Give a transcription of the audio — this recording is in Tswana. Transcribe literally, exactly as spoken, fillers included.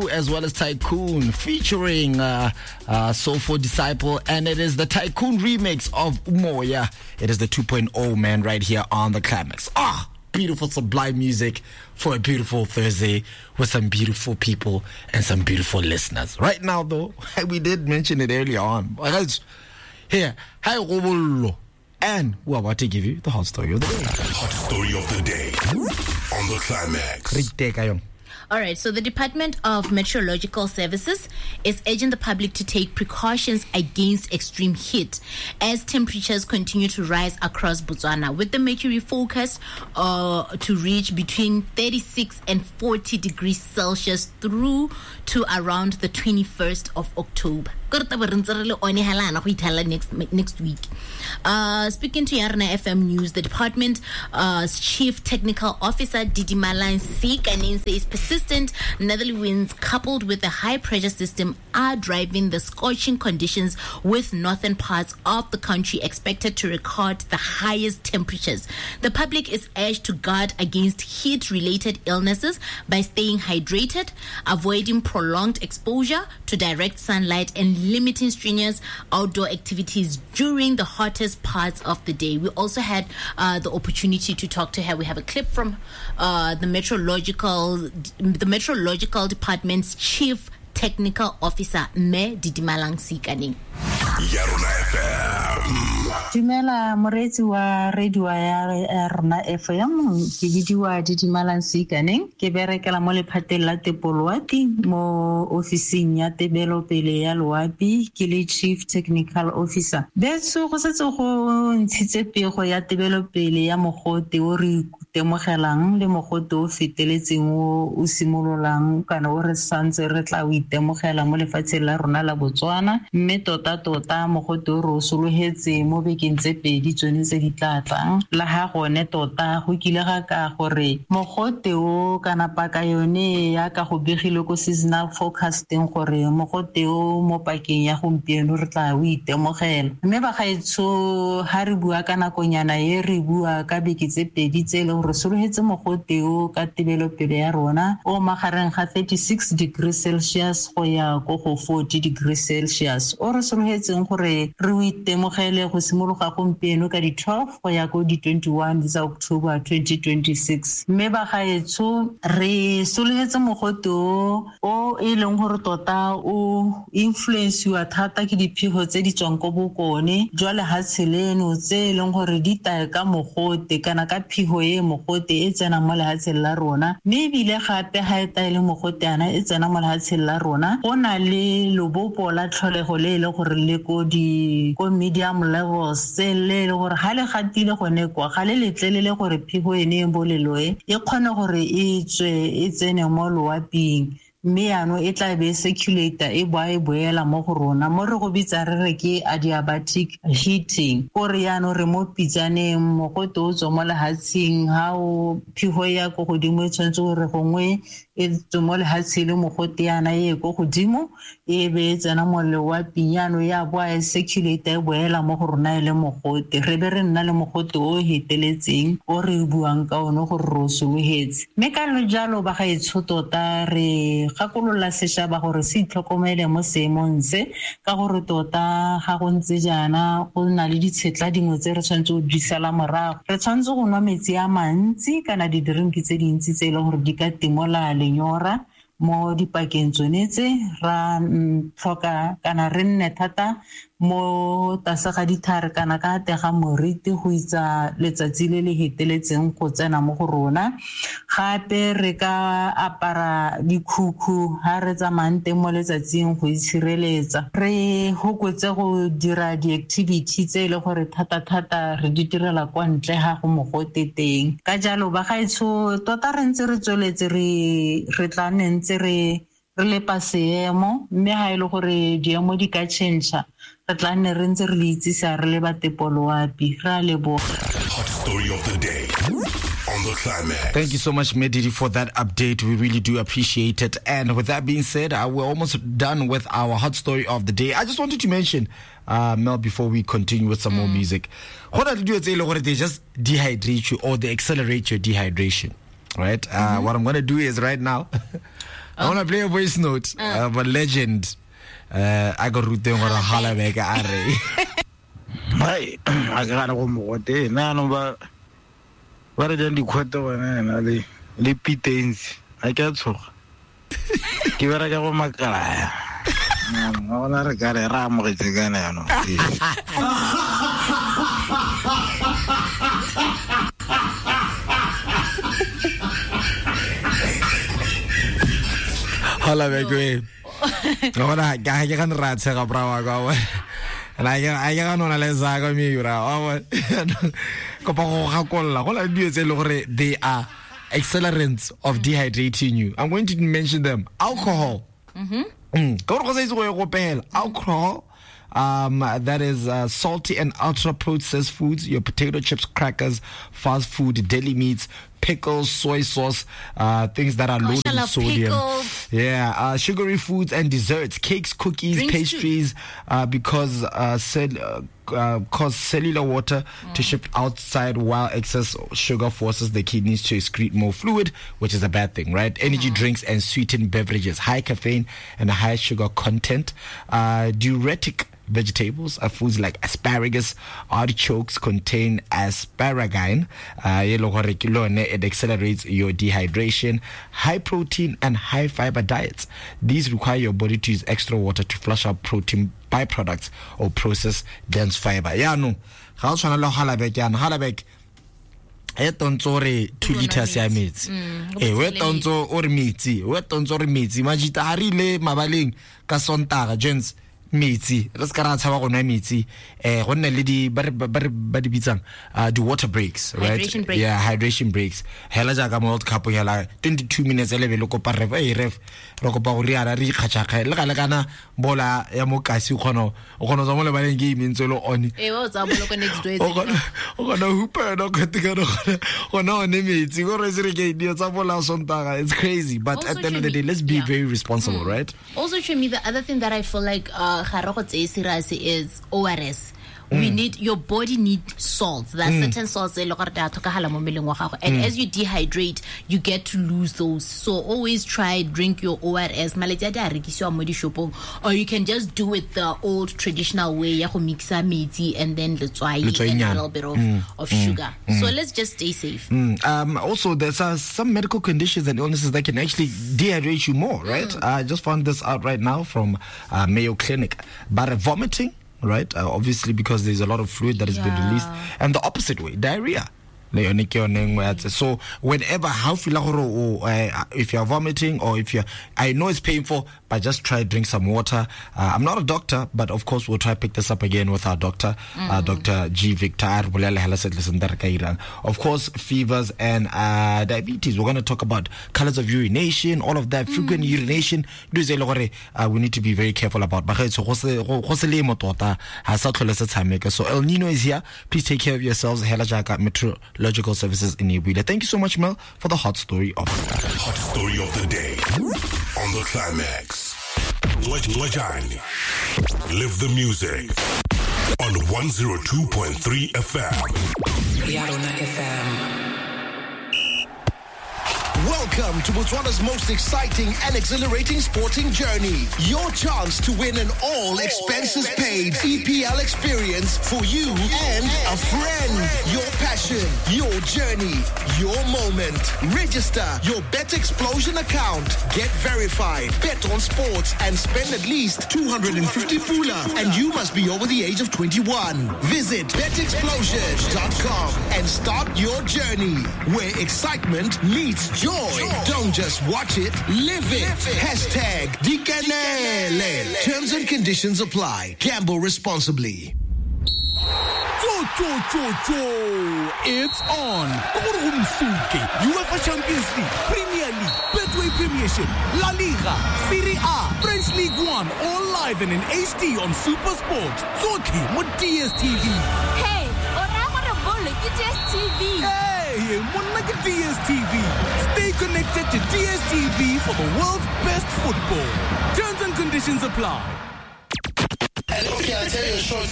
Blue as well as Tycoon featuring uh, uh, Soulful Disciple, and it is the Tycoon remix of Umoya. It is the two point oh, man, right here on The Climax. Ah, beautiful sublime music for a beautiful Thursday with some beautiful people and some beautiful listeners. Right now, though, we did mention it earlier on. Here, hi, Robollo. And we're about to give you the hot story of the day. Hot story of the day on The Climax. All right, so the Department of Meteorological Services is urging the public to take precautions against extreme heat as temperatures continue to rise across Botswana, with the mercury forecast uh, to reach between thirty-six and forty degrees Celsius through to around the twenty-first of October. Next, next week. Uh, speaking to Yarna F M News, the department's uh, Chief Technical Officer, Didimalang Seikaneng, says persistent northerly winds coupled with a high pressure system are driving the scorching conditions, with northern parts of the country expected to record the highest temperatures. The public is urged to guard against heat-related illnesses by staying hydrated, avoiding prolonged exposure to direct sunlight, and limiting strenuous outdoor activities during the hottest parts of the day. We also had uh, the opportunity to talk to her. We have a clip from uh, the meteorological, the meteorological department's chief technical officer, Me Didimalang Seikaneng. Yarona F M. Dumela moreetsi wa radio ya Rona F M, ke bidiwa Didimalang Seikaneng, ke berekela mo lephateng la Tepoloapi mo ofising ya tebelopele ya loapi, ke le Chief Technical Officer. Betso go setse go ntshitse pego ya tebelopele ya mogote o re itemogelang le mogote o feteletseng o o simololang kana o re santse re tla o itemogela mo lefatsheng la rona la Botswana, mme tota tota mogote o re o sologetse mo bekeng tse pedi tsone tse di tla tlang. La ha gone tota go kile ga ka gore mogote o kana paka yone ya ka go begile ko seasonal forecasting gore mogote o mo pakeng ya gompieno re tla o itemogela. Mme bagaetsho ha re bua ka nakonyana e re bua ka beke tse pedi tse e leng gore sologetse mogote o ka tebelopele ya rona o magareng ga thirty-six degrees Celsius go ya ko go forty degrees Celsius, o re sologetseng gore re o itemogele go simologa gompieno ka di twelve go ya ko di twenty-one tsa October twenty twenty-six. Mme bagaetsho re sologetse mogote o o e leng gore tota o influensiwa thata ke diphego tse di tswang ko bokone jwa lehatshe leno tse e leng gore di taya ka mogote kana ka phigo e mogote e tsenang mo lehatsheng la rona, mme ebile gape ga e taele mogote ana e tsena mo lehatsheng la rona go na le lobopo la tlholego le e leng gore le ko di ko medium levels tse le le gore ga le gatile gone kwa ga le letlelele gore phigo ene e boleloe e kgone gore e tswe e tsene mo loaping, mme yaanong e tla be e circulate e boa e boela mo go rona mo re go bitsa re re ke adiabatic heating, kore yaanong re mo pitsaneng mogote o tswa mo lehatsheng ha o phigo ya ko godimo e tshwanetse gore gongwe e tswe mo lehatsheng le mogote yana e ko godimo e be e tsena mo loaping, yaanong ya boa e circulate e boela mo go rona e le mogote, re be re nna le mogote o heteletseng o re buang ka one gore re o sologetse. Mme ka jalo bagaetsho tota re gakolola sešaba gore se itlhokomele mo seemong se, ka gore tota ga go ntse jaana go na le ditshetla dingwe tse re tshwanetse go di sala morago. Re tshwanetse go nwa metsi a mantsi kana di-drink tse dintsi tse e leng gore di ka timola lenyora mo dipakeng tsone tse, ra tlhoka kana re nne thata mo tlase ga dithare kana ka tega moriti go itsa letsatsi le le heteletseng go tsena mo go rona. Gape re ka apara dikhukhu ha re tsamayang teng mo letsatsing go itshireletsa. Re hokotse go dira di-activity tse e le gore thata-thata re di direla kwa ntle ga go mogote teng. Ka jalo bagaetsho tota re ntse re tsweletse re re tla nne ntse re re lepa seemo, mme ha e le gore diemo di ka change re tla nne re ntse re le itsisa re le ba Tepoloapi. Re a leboga. Hot story of the day on The Climax. Thank you so much, Medidi, for that update. We really do appreciate it. And with that being said, uh, we're almost done with our hot story of the day. I just wanted to mention, uh, Mel, before we continue with some mm. more music, they just dehydrate you or they accelerate your dehydration, right? Mm-hmm. Uh, what I'm going to do is right now... I want to play a voice note uh. of a legend. Uh, I got ruteng gore hala beke a re. Hai, a ke gana go mogote nna no ba ba re jang dikgwete gone na le le pitens a ke a tshoga. Ke bereka go makala. Nna gona re ka re ra amogetse kana yaanong. Hala beke. Gona ga ke gana ra tshega bra wa ka wa. La ke a ke gana le za ka mi bra wa. Kopa go gakolla go la dilo tse le gore they are accelerants of dehydrating you. I'm going to mention them. Alcohol. Mhm. Mm. Ka gore go sa itse go e gopela. Alcohol, um, that is uh, salty and ultra processed foods, your potato chips, crackers, fast food, deli meats, pickles, soy sauce, uh, things that are Gosh, loaded in sodium. Pickles. Yeah, uh, sugary foods and desserts, cakes, cookies, Drinks pastries, uh, because uh, cell, uh, uh, cause cellular water mm. to shift outside while excess sugar forces the kidneys to excrete more fluid, which is a bad thing, right? Energy mm. drinks and sweetened beverages, high caffeine and high sugar content, uh, diuretic vegetables are foods like asparagus, artichokes contain asparagine. Uh, it accelerates your dehydration. High protein and high fiber diets. These require your body to use extra water to flush out protein byproducts or process dense fiber. Yeah, no. Ga o tshwana le hala beke yana, hala beke e tontso re two liters ya metsi. Eh, we tontso o re metsi, we tontso re metsi. Majita ha re ile mabaleng ka Sontaga, gents. Metsi re se ka ra tshaba go nwa metsi eh go nne le di ba re ba di bitsang di water breaks, right? Hydration breaks. Yeah, hydration breaks. Hela jaaka World Cup hela twenty-two minutes ele be le kopa ref e ref re kopa go riana re ikgatšakga le ga le kana bola ya mokasi o kgona o kgona tswa mo lebaleng ke imentse le one e wa tsa bolo next door o kgona o kgona hupa yona kgote ka gona one metsi go re se re ke dio tsa bola Sontaga. It's crazy, but also, at the end of the day, let's be yeah. very responsible, mm. right? Also, to me, the other thing that I feel like uh ga re go tseye serious is O R S. We mm. need, your body need salts. There are mm. certain salts tse e le gore di a tlhokagala mo mmeleng wa gago. And mm. as you dehydrate, you get to lose those. So always try drink your O R S. Maletsi a di a rekisiwa mo dishopong, or you can just do it the old traditional way ya go mixa metsi and then letswai and a little bit of, mm. of mm. sugar. Mm. So let's just stay safe. Mm. Um, also, there's uh, some medical conditions and illnesses that can actually dehydrate you more, right? Mm. I just found this out right now from uh, Mayo Clinic. But uh, vomiting, right? Uh, obviously, because there's a lot of fluid that has yeah. been released. And the opposite way, diarrhea. So whenever, how feel if you're vomiting or if you're, I know it's painful, but just try drink some water. Uh, I'm not a doctor, but of course we'll try pick this up again with our doctor, mm. uh, Doctor G. Victor. Of course, fevers and uh, diabetes. We're going to talk about colors of urination, all of that, mm. frequent urination. Uh, we need to be very careful about. So El Nino is here. Please take care of yourselves. Meteorological Services in Ibuile. Thank you so much, Mel, for the hot story of hot story of the day on the Climax. Lejani, live the music on one oh two point three F M. Yarona F M. Welcome to Botswana's most exciting and exhilarating sporting journey. Your chance to win an all expenses paid E P L experience for you and a friend. Your passion, your journey, your moment. Register your Bet Explosion account. Get verified. Bet on sports and spend at least two hundred fifty pula. And you must be over the age of twenty-one. Visit bet explosion dot com and start your journey where excitement meets joy. Don't just watch it, live it. Hashtag Dikanele. Terms and conditions apply. Gamble responsibly. Cho, cho, cho, cho. It's on. UEFA Champions League, Premier League, Betway Premiership, La Liga, Serie A, French League One, all live and in H D on Super Sport. Tsotlhe mo D S T V. Hey, o raya gore bolo ke D S T V. Hey, monna ke D S T V. Stay connected to D S T V for the world's best football. Terms and conditions apply. Okay, I'll tell you a short